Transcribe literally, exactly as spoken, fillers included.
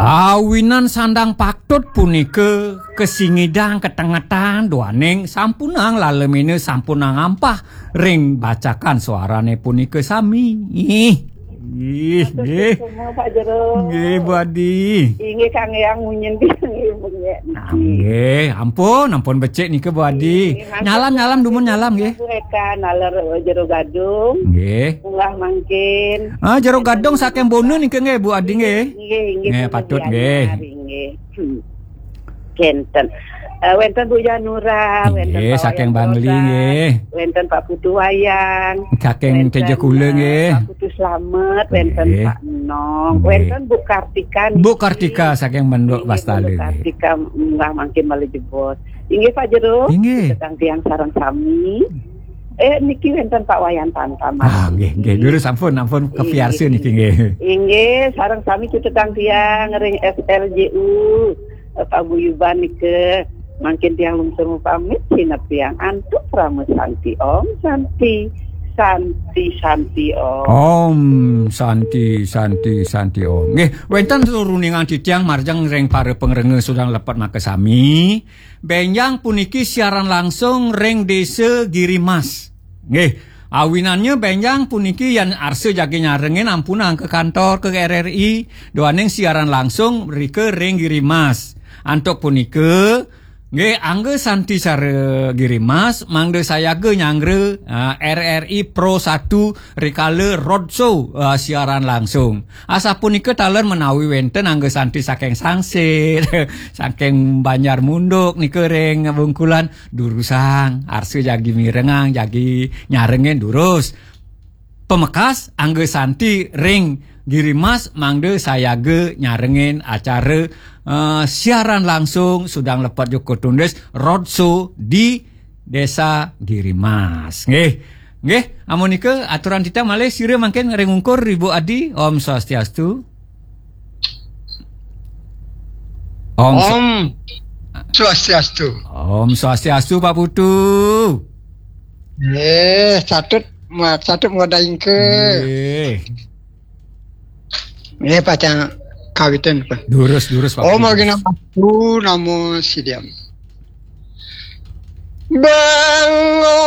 Awinan sandang patut punika kasingidang katengetan duaning sampunang lalemina sampunang ampah ring bacakan suarane punika sami. Ih, ih, Matur nggih. Suksma, Pak Jero. Nggih, Bu Adi. Inggih, Kang Eyang munyin tiang, nggih, Bu, nggih. Ah, nggih, ampun, ampun becik nika, Bu Adi. Nggih, matur Nyalam, nyalam, dumun nyalam, nggih. Bu Eka, naler Jero Gadung. Nggih. Munggah mangkin. Ah, Jero Gadung saking Bona nika, nggih, Bu Adi, nggih. Nggih, nggih, Nggih, Bu patut, Diana, nggih. Nggih. Hmm. Kenten. Eh, wenten Bu Janura, wenten Nggih, Pak saking Wayan Bangli, Roda, nggih. Wenten Pak Putu Wayang, Saking wenten, Tejokula, eh, nggih. Pak Putu Slamet, wenten Nggih. Pak Enong, Nggih. Wenten Bu Kartika, Bu nggih. Kartika saking Menduk Nggih, Bastali, Bu nggih. Kartika, munggah mangkin malih jebos. Inggih, Pak Jero, Inggih. Sedang tiang sareng sami. Eh, niki wenten Pak Wayan Tantam. Ah, nggih, nggih. Durus ampun, ampun Inggih. Kepiarsa niki, nggih. Inggih, sareng sami cutetang tiang ring S L J U, eh, paguyuban nika. Mangkin tiang lungsur pamit, sineb tiang antuk krama santi. Om Santi, Santi, Santi Om. Om Santi, Santi, Santi Om. Nggih, wenten turuningan titiang marjang ring para pangrenga sudang lepet makasami. Benjang puniki siaran langsung ring Desa Girimas. Nggih, awinannya benjang puniki yan arsa jagi nyarengin ampunang ke kantor ke R R I, duaning siaran langsung rika ring Girimas. Antuk punika, nggih, angga santi sare Girimas, mangda sayaga nyanggra, ah, R R I Pro satu rikala roadshow, ah, siaran langsung. Asapunika taler menawi wenten angga santi saking Sangsit, saking Banjar Munduk nika ring Bungkulan, durusang, arsa jagi mirengang, jagi nyarengin durus. Pamekas angga santi ring Girimas mangda sayaga nyarengin acara, eh, siaran langsung sudang lepet joko tundis roadshow di Desa Girimas. Nggih. Nggih, amunika aturan titah malih sira mangkin ring ungkur Ibu Adi. Om Swastiastu. Om Swa- Om Swastiastu. Om Swastiastu, Pak Putu. Nggih, satut ma-, satut mengadaingke. Nggih. Nggih, pacang kawitin, Pak. Durus, durus, Pak Om Putu. Agina Batu, namo Sidiam. Bangong